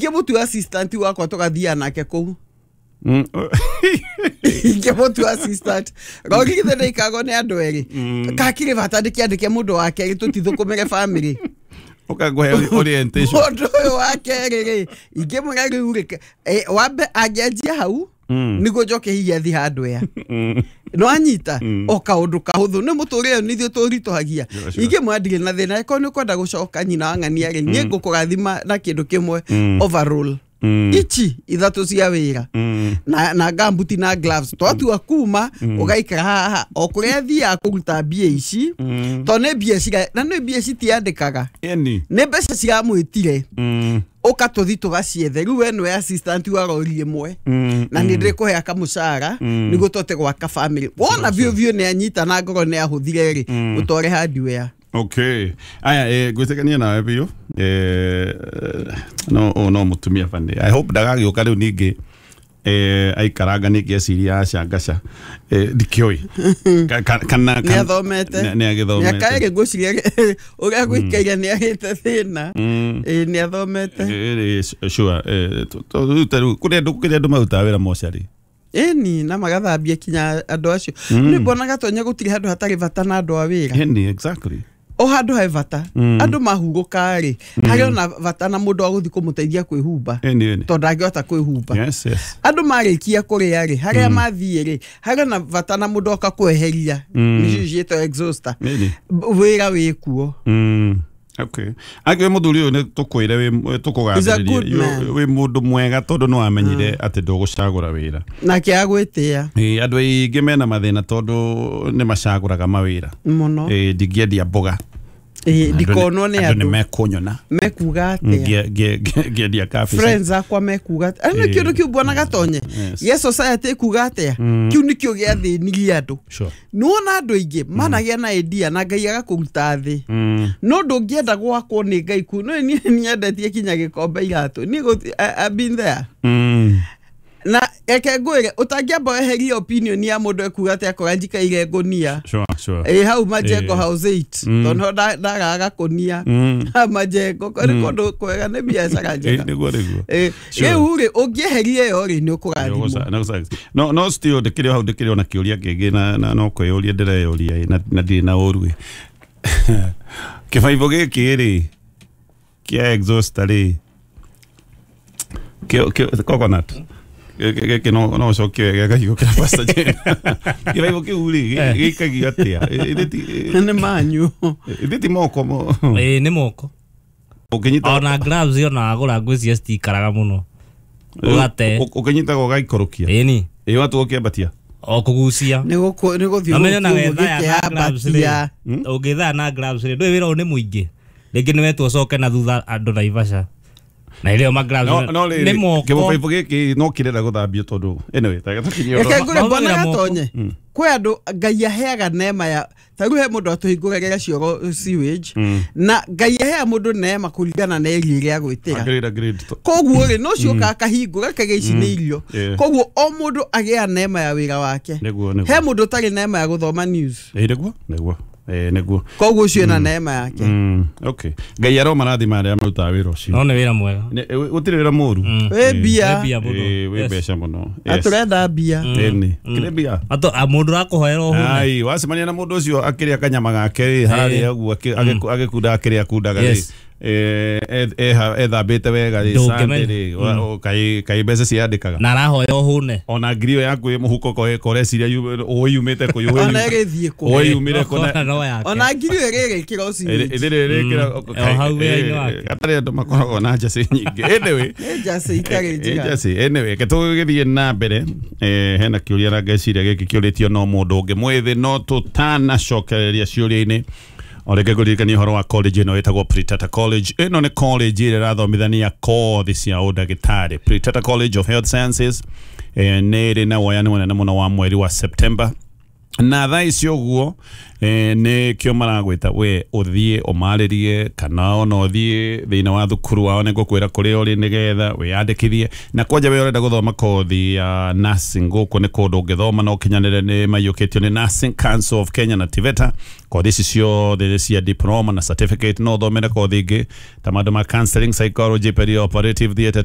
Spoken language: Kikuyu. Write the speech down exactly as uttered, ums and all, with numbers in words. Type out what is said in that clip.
Ingĩmũtua assistant wakwa tũgathiaga nake kũu. Mm. Ingĩmũtua assistant rogi githĩ ndĩikagwo nĩ andũ erĩ kakirĩ bata ndĩkĩandĩke mũndũ wa kerĩ tũtithũkũmĩre family. Ũkangũhe orientation. Mũndũ ũyũ wa kerĩ rĩ, ingĩmwĩra rĩu rĩ, eh, wambe angĩanjia hau nĩguo njoke hihi athi handũ ya no anyita o kaũndũ kahũthũ nĩ mũtũrĩre nĩ ithuĩ tũritũhagia. Sure, sure. Ingĩmwĩra ndirĩ na thĩna angĩkorwo nĩ ũkwenda gũcoka nyina wa ng'ania rĩ, niĩ ngũkũrathima na kĩndũ kĩmwe, overall ici ithatũ cia wĩra na na gambuti na gloves twatua kuma ũgaikara haha o kũrĩa athiaga kũruta mbia ici tondũ nĩ mbia cira na nĩ mbia citiandĩkaga Eni. nĩ mbeca ciramwĩtire Mm. ũka tũthi tũgaciethe. Rĩu we nĩwe assistant wa rori ĩmwe na nĩ ndĩkũhe kamũcara nĩguo tũhote gwaka family. Wona biũ biũ nĩ anyita na ngoro nĩ ahũthire rĩ, ũtware hardware. Okay. Aya, eh, ngwĩtĩkania nawe biũ. Eh, no o no mũtumia bani. I hope ndagagĩũka rĩu ningĩ eh, aikaranga ningĩ eciria aca ngaca. Eh, ndikĩũĩ. Ka- ka- Kana nĩ athomete. Nĩ agĩthomete. Mĩaka ĩrĩ ngwĩciria ũrĩa gũikaire nĩ agĩte thĩna. Ĩĩ, nĩ athomete. Eh, eh, sure. Eh, tu- tu- rĩu ta rĩu kũrĩ andũ kũrĩ andũ marutaga wĩra mocarĩ. Ĩni na magathambia kinya andũ acio nĩ mbonaga Tonya gũtirĩ handũ hatarĩ bata na andũ a wĩra. Eni, exactly. O handũ he bata andũ mahurũka rĩ, harĩ ona bata na mũndũ wa gũthiĩ kũmũteithia kwĩhumba Eni, eni. tondũ ndangĩhota kwĩhumba. Yes, yes. Andũ marĩkia kũrĩa rĩ, harĩa mathiĩ rĩ, harĩ ona bata na mũndũ oka kweheria nĩcio ciĩtwo exhauster. Eni. B- wĩra wĩ kuo. Mm. Okay. Angĩ mũthuri ũyũ nĩ tũkwĩre wĩ He's a good tũkũgathĩrĩria man. wĩ mũndũ mwega tondũ nĩ wamenyire atĩ ndũgũcagũra wĩra. Nake agwĩtĩa. Ĩ, andũ aingĩ mena mathĩna tondũ nĩ macagũraga mawĩra. Mũno. Ĩ, ndingĩendia mboga. Ĩ, ndikonwo nĩ andũ nĩ andũ mekũnyona mekuga atĩa. Ngĩ- ngĩ- ngĩ- ngĩendia kabici. Friends akwa mekuga atĩa nĩ kĩndũ kĩu mbona Gatonye Yes. gĩa society ĩkuga atĩa kĩu nĩkĩo gĩathĩnirie andũ. Sure. Nĩwona andũ aingĩ managĩa na idea na Ngai agakũruta thĩ no ndũngĩenda gwakwo nĩ Ngai ku no niĩ nyendetie kinya gĩkombe iratũ niĩ gũti- I- I've been there. Mm. Na reke ngwĩre ũtangĩamba weherie opinion ya mũndũ ekuga atĩ akora njikaire ngũnia. Sure, sure. Ĩ hau Majengo Ĩ. House eight tondũ nĩho nda- ndagaga kũnia hau Majengo nĩ kũndũ kwega nĩ biacara Ĩ, njega. nĩguo nĩguo. Ĩ, Sure. rĩu rĩ ũngĩeheria ĩyo rĩ nĩ ũkũrathimwo. Nĩgũca- nĩgũca- no no still ndĩkĩrĩ o hau ndĩkĩrĩ ona kĩũria kĩngĩ na na no kwĩyũria ndĩreyũria ĩ, na na ndirĩ na ũru ĩ. Kĩbaibũ gĩkĩ rĩ kĩa exhauster rĩ kĩo kĩo coconut Gĩkĩ gĩkĩ no no ũcokie wega gakigũkĩra Pastor Jane. Kĩbaibũ kĩu rĩ gĩ- gĩikagio atĩa? Ĩ- ithĩ ti- Nĩ manyu. ithĩ ti moko mo Ĩĩ, nĩ moko. Ũkĩnyita Ona gloves ona wagũra ngwĩciria citikaraga mũno ũgate. ũ- ũkĩnyitaga ũgaikũrũkia. Ĩni. Ĩ watu ũkĩambatia. O kũgucia. Nĩ gũkũ- nĩ Ũmenye na wethaya na gloves rĩ, gũthiũrũrũkia. ũngĩthaya na gloves rĩ, ndũĩ wĩra ũyũ nĩ mũingĩ, rĩngĩ nĩ wetwo ũcoke na thutha andũ Naivasha na ĩrĩo ma gloves no no nĩ rĩrĩ moko. kĩbaibũ gĩkĩ no kĩrenda gũthambio tondũ anyway ta tũkinyie Reke ũhoro. ngũre mbona Mahũthagĩra moko. Gatonye kwĩ andũ Ngai aheaga neema ya ta rĩu he mũndũ atũhingũragĩra cioro sewage na Ngai aheaga mũndũ neema kũringana na area ĩrĩa agwĩtĩra. Agreed, agreed. Koguo rĩ no cio ũkaga akahingũra akauga ici nĩ irio. Yeah. Koguo o mũndũ agĩa neema ya wĩra wake. Nĩguo, nĩguo. He mũndũ ũtarĩ neema ya gũthoma news. Ĩ, nĩguo nĩguo. Ĩ, nĩguo. Koguo ũcio ena neema yake. Mm, okay. Ngai aromarathima arĩa marutaga wĩra ũcio. No nĩ wĩra mwega. Nĩ- ĩ, gũtirĩ wĩra mũru. Wĩ mbia. Wĩ mbia mũno. Ĩ, wĩ Yes. mbeca mũno. Na Yes. tũrenda mbia. Ĩni. Kĩrĩ mbia. Ato a mũndũ ũrakũhoera ũhũne. Ai, wacemania na mũndũ ũcio akĩrĩa kanyama gake rĩ harĩa ũguo akĩ- agĩku- agĩkunda akĩrĩa akundaga rĩ Yes. eh, e- eha- ethambĩte wega rĩ Ndũngĩmenya. Sunday rĩ wa- o, kaĩ kaĩ mbeca ciandĩkaga. Na arahoya ũhũne. Ona ngiri ĩyo yaku ĩ mũhuko ko koreciria ũĩ yumĩte kũ ũĩ Ona yumĩte- ĩgĩthiĩ kũ. ũĩ yumĩre kũ na- Ona no yake. Ona ngiri ĩyo ĩrĩgĩkĩra sewage. ĩthĩ rĩkĩra O hau wĩra-inĩ wake. gatarĩ andũ makoragwo na njacĩ nyingĩ anyway. Nĩ njacĩ itarĩ njega. Njacĩ anyway ke tũgĩthiĩ na mbere eh, hena kĩũria na ngeciria gĩkĩ kĩũrĩtio no mũndũ ũngĩ mwĩthĩ no tũtanacokereria ciũria-inĩ o rĩngĩ ngũririkania ũhoro wa college ĩno ĩtagwo Pritata College. Ĩno nĩ college ĩrĩa ĩrathomithania kothi cia ũndagĩtarĩ. Pritata College of Health Sciences eh, nĩ ĩrĩ na woyani mũnene mũno wa mweri wa September. Na thaa ici ũguo eh, nĩ kĩo maragwĩta we ũthiĩ ũmarĩrie kana ona ũthiĩ thĩinĩ wa thukuru wao, nĩ ngũkwĩra kũrĩa ũrĩ nĩgetha wĩyandĩkithie. Na kwanja we ũrenda gũthoma kothi ya nursing, gũkũ nĩ kũndũ ũngĩthoma na ũkinyanĩre, nĩ maiyũkĩtio nĩ Nursing Council of Kenya na TVETA. Kothi ici ciothe nĩ cia diploma na certificate. No ũthomere kothi ingĩ ta maũndũ ma counseling, psychology, perioperative theatre.